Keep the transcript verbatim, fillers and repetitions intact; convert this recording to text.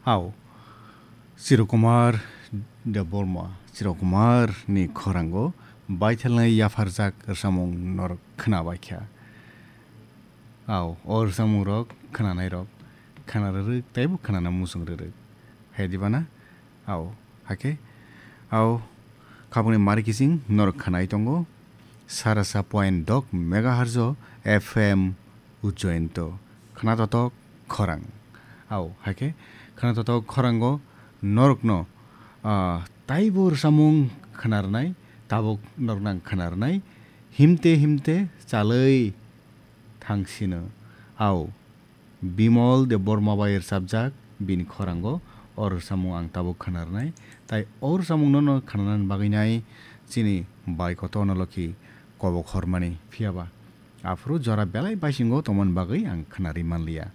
Au, Chirokumar Debbarma, Chirokumar ni khorango baithalnai yapharjak rwsamung norok khwnabaikha. Au, o rwsamungrok khwnanairok khwna rwrwk teibo khwnana muchung rwrwk. Hai diba na? Au, hakhe, au, khabangni mari kiching norok khwnai tongo. Sarasa point dok megahertz o F M Ujjainto. Khwnatotok khorang. Au, hakhe, khwnatotok khorango norokno, ah, taibo rwsamung khwnarnai, tabuk norokno ang khwnarnai, himte himte chalwi thangsino. Au, Bimol Debbarma bai rwchapjak bini khorango o rwsamung ang tabuk khwnarnai. Tai o rwsamungno no khwnanani bagwi nai chini bai kotorno lokhi kobok hormani. Phiyaba aphuru jora belai baisingo tongmani bagwi ang khwnari manliya.